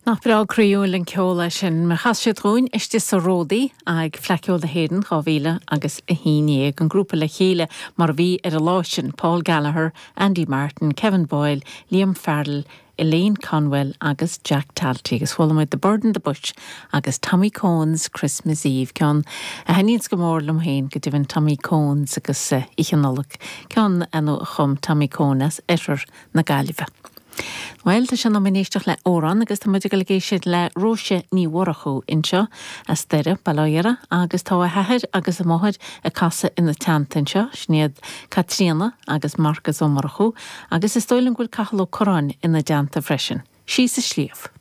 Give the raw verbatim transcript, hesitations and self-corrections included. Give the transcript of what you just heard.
Nach breá croíúil an ceol é sin mar chas siad dúinn istigh sa Ródaí ag Fleadh Cheoil na hÉireann dhá mhíle agus a haon déag an grúpa le chéile mar a bhí ar an lá sin Paul Gallagher, Andy Martin, Kevin Boyle, Liam Farrell, Elaine Conwell agus Jack Talty agus chuala muid The Bird in the Bush agus Tommy Cohen's Christmas Eve ceann a thaitníonns go mór liom féin go deimhin Tommy Cohen's agus uh, Oíche Nollag ceann a chum Tommy Cohen as oirthear na Gaillimhe. Well tá sé in am éisteacht le amhrán agus tá muid ag éisteacht le Róise Ní Mhurchú anseo as Doire Baláire agus tá a hathair agus a máthair ag casadh ina teannta anseo sin iad Caitríona agus Marcas Ó Murchú agus is dóigh liom go bhfuil Cathal Ó Curráin ina dteannta freisin. Síos an sliabh.